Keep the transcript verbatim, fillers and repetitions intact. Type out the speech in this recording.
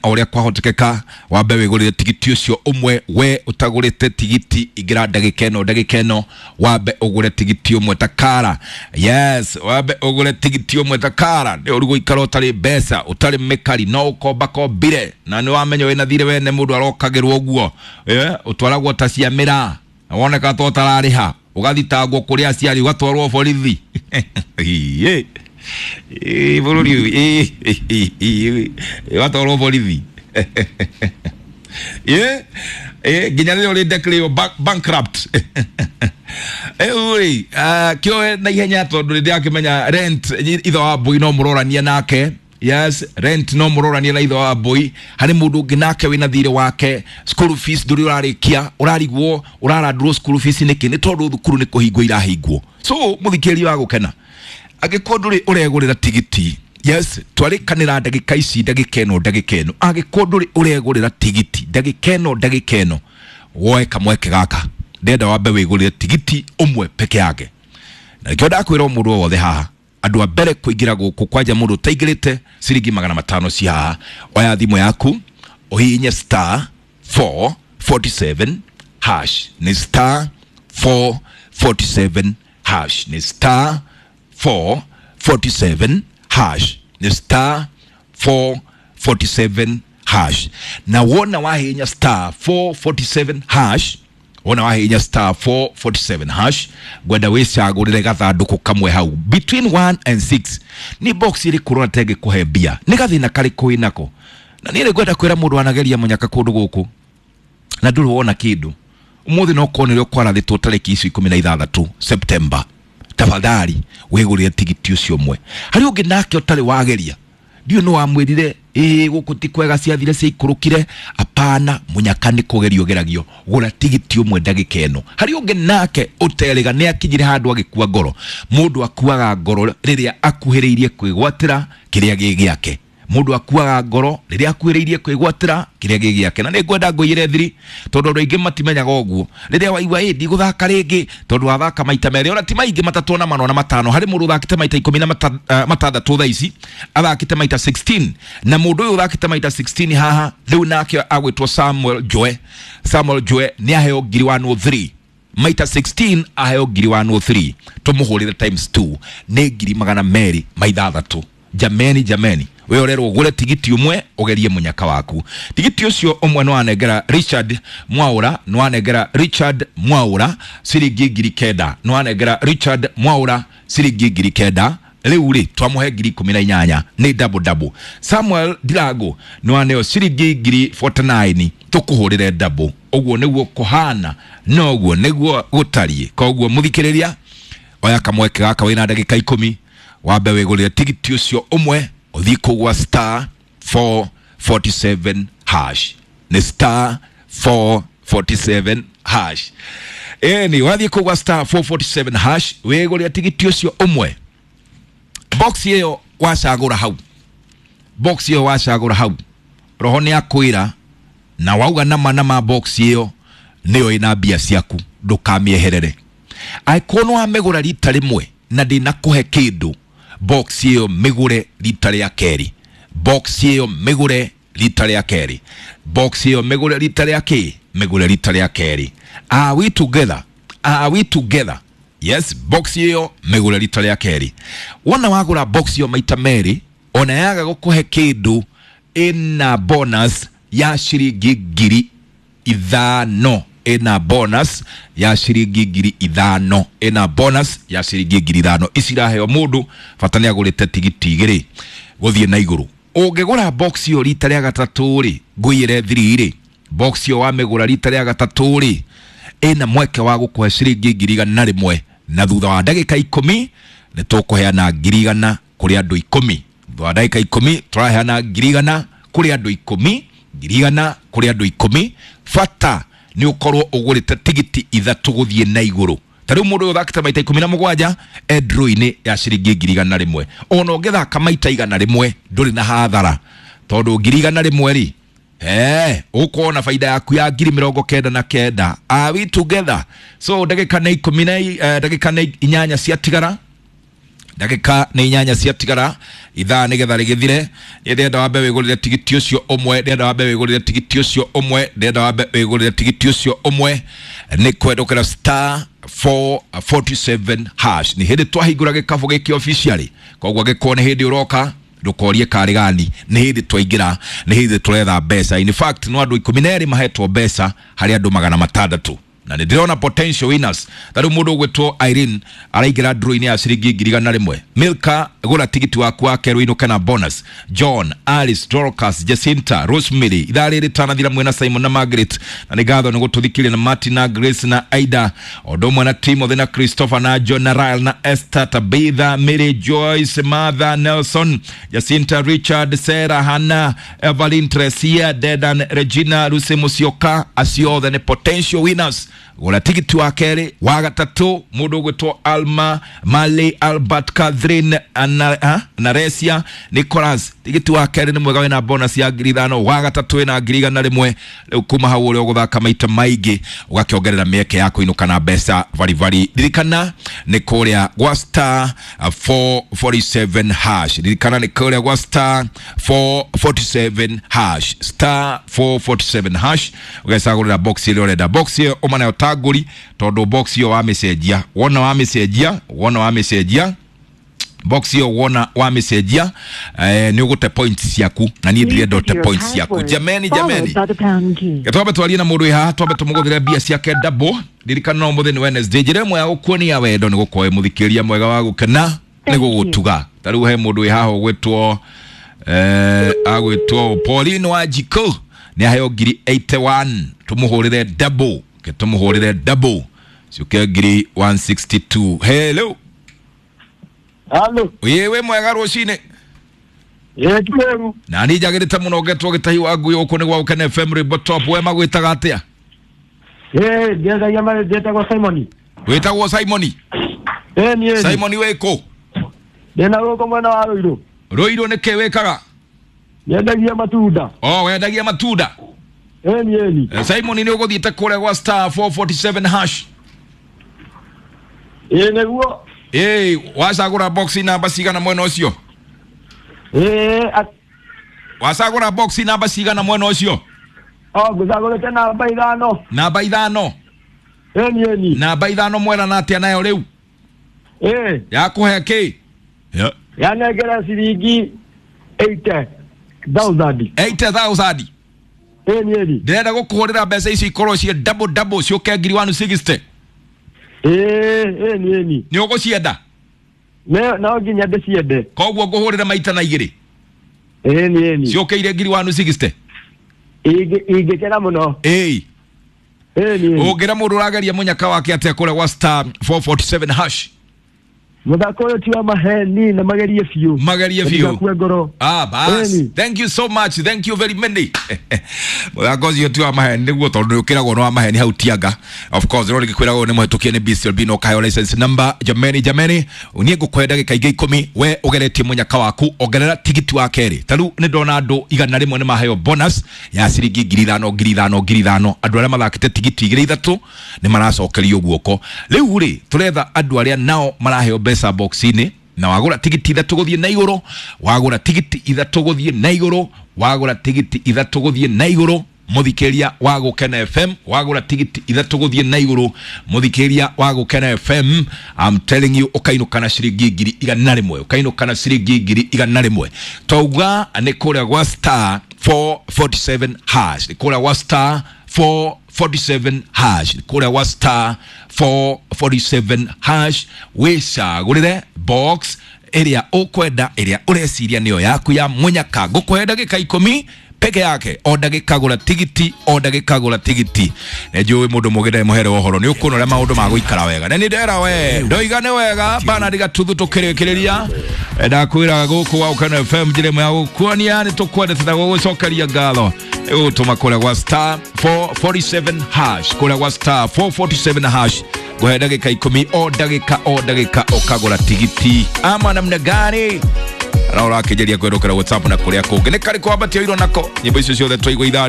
o ũrĩa kwahotekeka wambe wĩgũrĩre tigiti ũcio ũmwe. We ũtagũrĩte tigiti, ingĩra ndagĩka ĩno, ndagĩka ĩno wambe ũgũre tigiti ũmwe takara. Yes, wambe ũgũre tigiti ũmwe takara. Nĩ ũru gũikara ũtarĩ mbeca, ũtarĩ mĩkari, no ũkomba kombire na nĩ wamenya wĩna thirĩ wene. Mũndũ arokagĩrwo ũguo, eh, ũtwaragwo ta cia mĩraa na woneka ta ũtararĩha, ũgathitangwo kũrĩ aciari, ũgatwarwo borithi. Ĩ, ĩ, bũrũri ũyũ, ĩ, ĩ, ĩ, ũgatwarwo borithi. Ĩ, ĩ, nginya rĩrĩa ũrĩ declare bank- bankrupt. Rĩu rĩ, ah, kĩoe na ihenya tondũ nĩ ndĩrakĩmenya rent ithe wa mbũi no mũrorania nake. Yes, rent no mũrorania na ithe wa mbũi. Harĩ mũndũ ũngĩ nake wĩna thirĩ wake, school fees ndũrĩ ũrarĩkia, ũrarigwo ũrarandũrwo school fees nĩkĩ? Nĩ tondũ thukuru nĩ kũhingwo irahingwo. So mũthikĩrĩria wa gũkena, angĩkorwo ndũrĩ ũregũrĩra tigiti, yes, twarĩkanĩra ndagĩka ici, ndagĩka ĩno, ndagĩka ĩno, angĩkorwo ndũrĩ ũregũrĩra tigiti ndagĩka ĩno, ndagĩka ĩno woe kamweke gaka, ndenda wambe wĩgũrĩre tigiti ũmwe peke yake. Na nĩkĩo ndakwĩra o mũndũ o wothe haha, andũ a mbere kũingĩra gũkũ kwanja mũndũ ũtaingĩrĩte ciringi magana matano ci haha. Oya thimũ yaku ũhihinye star four forty-seven hash, nĩ star four forty-seven hash, nĩ star four forty-seven hash, nĩ star four forty-seven hash. Na wona wahihinya star four forty-seven hash, wona wahihinya star four forty-seven hash, ngwenda wĩcagũrĩre gathandũkũ kamwe hau between one and six. Nĩ box ĩrĩkũ ũrona ta ĩngĩkũhe mbia? Nĩ gathĩna karĩkũ wĩnako? Na niĩ nĩ ngwenda kwĩra mũndũ anageria mũnyaka kũndũ gũkũ na ndũrĩ wona kĩndũ ũmũthĩ, no korwo nĩrĩo kwarathĩtwo tarĩki icio ikũmi na ithathatũ September, tafadhali wĩgũrĩre tigiti ũcio ũmwe. Harĩ ũngĩ nake ũtarĩ wageria, ndiũ nĩ wamwĩrire ĩĩ gũkũ ti kwega, ciathire ciaikũrũkire. Apana, mũnyaka nĩ kũgerio geragio. Gũra tigiti ũmwe ndagĩka ĩno. Harĩ ũngĩ nake ũterĩga nĩ akinyire handũ agĩkua ngoro. Mũndũ akuaga ngoro rĩrĩa akuhĩrĩirie kwĩgwatĩra kĩrĩa gĩ gĩake. Mũndũ akuaga ngoro rĩrĩa akuhĩrĩirie kwĩgwatĩra kĩrĩa gĩ gĩake. Na nĩ ngwenda ngũiyĩre thiri tondũ andũ aingĩ matimenyaga ũguo. Rĩrĩa waigua ĩ ndigũthaka rĩngĩ tondũ wathaka maita merĩ, ona ti maingĩ, matatũ ona mana ona matano. Harĩ mũndũ ũthakĩte maita ikũmi na mata- eh, matandatũ thaa ici, athakĩte maita sixteen. Na mũndũ ũyũ ũthakĩte maita sixteen haha rĩu nake agwĩtwo Samuel Joe. Samuel Joe nĩ aheo ngiri one oh three maita sixteen, aheo ngiri one oh three. Tũmũhũrĩre times two, nĩ ngiri magana merĩ ma ithathatũ. Jameni, jameni, we ũrerwo ũgũre tigiti ũmwe ũgerie mũnyaka waku. Tigiti ũcio ũmwe nĩ wanengera Richard Mwaũra, nĩ wanengera Richard Mwaũra ciringi ngiri kenda, nĩ wanengera Richard Mwaũra ciringi ngiri kenda. Rĩu rĩ twamũhe ngiri ikũmi na inyanya, nĩ double double. Samuel Ndirango nĩ waneo ciringi ngiri forty-nine, tũkũhũrĩre double. Ũguo nĩguo kũhana, noguo nĩguo gũtariĩ. Koguo mũthikĩrĩria, oya kamweke gaka wĩna ndagĩka ikũmi wambe wĩgũrĩre tigiti ũcio ũmwe, ũthiĩ kũgwa star four forty-seven hash, nĩ star four forty-seven hash. Ĩni wathiĩ kũgwa star four forty-seven hash, wĩgũrĩre tigiti ũcio ũmwe. Box ĩyo wacagũra hau, box ĩyo wacagũra hau, roho nĩ akwĩra na wauga nama nama box ĩyo nĩyo ĩna mbia ciaku, ndũkamĩeherere. Angĩkorwo nĩ wamĩgũra rita rĩmwe na ndĩnakũhe kĩndũ, box ĩyo mĩgũre rita rĩa kerĩ, box ĩyo mĩgũre rita rĩa kerĩ, box ĩyo mĩgũre rita rĩa kĩ, mĩgũre rita rĩa kerĩ. Are we together? Are we together? Yes, box ĩyo mĩgũre rita rĩa kerĩ. Wona wagũra box ĩyo maita merĩ, ona yaga gũkũhe kĩndũ, ĩna bonus ya ciringi ngiri ithano, ĩna bonus ya ciringi ngiri ithano, ĩna bonus ya ciringi ngiri ithano. Ici iraheo mũndũ bata nĩ agũrĩte tigiti igĩrĩ gũthiĩ na igũrũ. Ũngĩgũra box ĩyo rita rĩa gatatũ rĩ, ngũiyĩre thiri rĩ, box ĩyo wamĩgũra rita rĩa gatatũ rĩ, ĩna mweke wa gũkũhe ciringi ngiri igana rĩmwe. Na thutha wa ndagĩka ikũmi nĩ tũkũheana ngiri igana kũrĩ andũ ikũmi. Thutha wa ndagĩka ikũmi tũraheana ngiri igana kũrĩ andũ ikũmi, ngiri igana kũrĩ andũ ikũmi. Bata nĩ ũkorwo ũgũrĩte tigiti ithatũ gũthiĩ na igũrũ. Ta rĩu mũndũ ũyũ ũthakĩte maita ikũmi na mũgwanja e draw-inĩ ya ciringi ngiri igana rĩmwe. Ona ũngĩthaka maita igana rĩmwe ndũrĩ na hathara tondũ ngiri igana rĩmwe rĩ, Eh, ũkorwo na faida yaku ya ngiri mĩrongo kenda na kenda. Are we together? So ndagĩka nĩ ikũmi na eh, ndagĩka nĩ inyanya ciatigara. Ndagĩka nĩ inyanya ciatigara ithaa nĩgetha rĩgĩthire. Niĩ ndĩrenda wambe wĩgũrĩre tigiti ũcio ũmwe, ndĩrenda wambe wĩgũrĩre tigiti ũcio ũmwe, ndĩrenda wambe wĩgũrĩre tigiti ũcio ũmwe nĩ kwendũkĩra star four forty-seven hash. Nĩ hĩndĩ twahingũra gĩkabũ gĩkĩ officially, koguo angĩkorwo nĩ hĩndĩ ũroka ndũkorie karĩ gani, nĩ hĩndĩ twaingĩra, nĩ hĩndĩ tũretha mbeca. In fact no andũ ikũmi na erĩ mahetwo mbeca harĩ andũ magana matandatũ, na nĩ ndĩrona potential winners. Ta rĩu mũndũ ũgwĩtwo Irene araingĩra draw-inĩ ya ciringi ngiri igana rĩmwe. Milka, gũra tigiti waku wa kerĩ ũinũke na bonus. John, Alice, Dorcas, Jacinta, Rosemary, ithaa rĩrĩ tanathira mwena Simon na Margaret, na nĩ ngatho nĩ gũtũthikĩrĩria, na Martin na Grace na Aida, o ũndũ ũmwe na Timothy na Christopher na John na Ryle na Esther, Tabitha, Mary, Joyce, Martha, Nelson, Jacinta, Richard, Sarah, Hannah, Evelyn, Tresia, Dedan, Regina, Lucy Musyoka, acio othe nĩ potential winners. Gũra tigiti wa kerĩ, wa gatatũ mũndũ ũgwĩtwo Alma, Mali, Albert, Catherine, Ana, ha? Naresia, Nicholas. Tigiti wa kerĩ nĩ mwega, wĩna bonus ya ngiri ithano. Wa gatatũ wĩna ngiri igana rĩmwe. Rĩu kuma hau ũrĩa ũgũthaka maita maingĩ ũgakĩongerera mĩeke ya kũinũka na mbeca baribari. Ririkana nĩ kũrĩa gwa star four forty-seven hash. Ririkana nĩ kũrĩa gwa star four forty-seven hash, star four forty-seven hash, ũgecagũrĩra box ĩrĩa ũrenda. Box ĩyo ũma nayo ta ngũri, tondũ box ĩyo wamĩcenjia, wona wamĩcenjia, wona wamĩcenjia box ĩyo, wona wamĩcenjia, eh, nĩ ũgũte points ciaku, na niĩ ndirenda ũte points ciaku. Jameni, jameni, twambe twarie na mũndũ wĩ haha, twambe tũmũgũthĩre mbia ciake double. Ririkana no mũthĩ nĩ Wednesday, njĩra ĩmwe ya gũkuonia wendo nĩ gũkorwo wĩ mũthikĩrĩria mwega wa gũkena nĩ gũgũtuga. Ta rĩu he mũndũ wĩ haha ũgwĩtwo eh, agwĩtwo Pauline Wanjikũ, nĩ aheo ngiri eighty-one, tũmũhũrĩre double, ke tũmũhũrĩre double ciũke ngiri one sixty-two. Hello. Halo. Ĩĩ, wĩ mwega rũcinĩ? Ĩĩ, ti kũru. Na niĩ njagĩrĩte mũno ngetwo gĩtahi wa ngui gũkũ nĩ gwa Gũkena F M Rwĩmbo Top. We magwĩtaga atĩa? Ĩĩ, ndĩendagia marĩ, ndĩtagwo Simoni. Wĩtagwo Simoni? Ĩĩ, niĩ. Simoni wĩ kũ? Ndĩna gũkũ mwena wa Rũirũ. Rũirũ nĩ kĩ wĩkaga? Nyendagia matunda. Oh, wendagia matunda? Ĩĩ, niĩ. Eh, Simoni nĩ ũgũthiĩte kũrĩa gwa star four forty-seven hash? Ĩĩ, nĩguo. Ĩĩ, wacagũra box namba cigana mwena ũcio? Ĩĩ, at- Wacagũra box namba cigana mwena ũcio? O, ngũcagũrĩte namba ithano. Namba ithano? Ĩĩ, niĩ ni. Namba ithano mwera na atĩa nayo rĩu? Ĩĩ. Yakũhe kĩ? Ya. Yanengera ciringi eighty thousand. eighty thousand? Ĩĩ, niĩ ni. Ndĩrenda gũkũhũrĩra mbeca ici ikorwo ciĩ double double, ciũke ngiri one sixty. Ĩĩ, ĩĩ, niĩ ni. Nĩ ũgũcienda? Ne, no nginya ndĩciende. Koguo ngũhũrĩra maita na igĩrĩ? Ĩĩ, niĩ ni. Ciũkĩire ngiri one sixty? Ingĩ, ingĩkena mũno. Ĩĩ. Ĩĩ, niĩ ni. Ũngĩra mũndũ ũrageria mũnyaka wake atĩa kũrĩa gwa star four forty-seven hash? Mũthako ũyũ ti wa maheni na magerie biũ. Magerie biũ. Ndũgakue ngoro. Ah, bas. Ĩni. Thank you so much. Thank you very many. Mũthako ũcio ti wa maheni nĩguo, tondũ nĩ ũkĩragwo nĩ wa maheni hau Tianga. Of course, rĩu rĩgĩkwĩragwo nĩ mũhetũkie nĩ B C L B na ũkaheo license number. Jameni, jameni, niĩ ngũkũhe ndagĩka ingĩ ikũmi, we ũgeretie mũnyaka waku, ongerera tigiti wa kerĩ. Ta rĩu nĩ ndona andũ igana rĩmwe nĩ maheo bonus ya ciringi ngiri ithano, ngiri ithano, ngiri ithano. Andũ arĩa mathakĩte tigiti igĩrĩ ithatũ nĩ maracokerio guoko. Rĩu rĩ, tũretha andũ arĩa nao maraheo mbeca box-inĩ, na wagũra tigiti ithatũ gũthiĩ na igũrũ, wagũra tigiti ithatũ gũthiĩ na igũrũ, wagũra tigiti ithatũ gũthiĩ na igũrũ, mũthikĩria wa Gũkena F M, wagũra tigiti ithatũ gũthiĩ na igũrũ, mũthikĩria wa Gũkena F M, I'm telling you, ũkainũka na ciringi ngiri igana rĩmwe, ũkainũka na ciringi ngiri igana rĩmwe. Twauga nĩ kũrĩa gwa star four forty-seven hash, nĩ kũrĩa gwa star four forty-seven hash, nĩ kũrĩa gwa star four forty-seven hash, wĩcagũrĩre box ĩrĩa ũkwenda, ĩrĩa ũreciria nĩyo yaku ya mũnyaka. Ngũkũhe ndagĩka ikũmi peke yake, o ndagĩka gũra tigiti, o ndagĩka gũra tigiti. Nĩ njũĩ mũndũ mũgĩ ndarĩ mũhere wa ũhoro, nĩ ũkuona ũrĩa maũndũ magũikara wega. Na nĩ ndera we, ndoiga nĩ wega, Bernard Gatuthu tũkĩrĩkĩrĩria. Ndakwĩra gũkũ gwa Gũkena F M njĩra ĩmwe ya gũkuonia nĩ tũkwendete na gũgũcokeria ngatho. Ĩgũtũma kũrĩa gwa star four forty-seven hash, kũrĩa gwa star four forty-seven hash, ngũhe ndagĩka ikũmi, o ndagĩka, o ndagĩka ũkagũra tigiti. Ama namna gani? Na ũrakĩgeria kwĩrũkĩra WhatsApp na kũrĩa kũngĩ. Nĩ karĩkũ wambatia iro nako? Nyĩmbo icio ciothe twaigua ithaa rĩrĩ.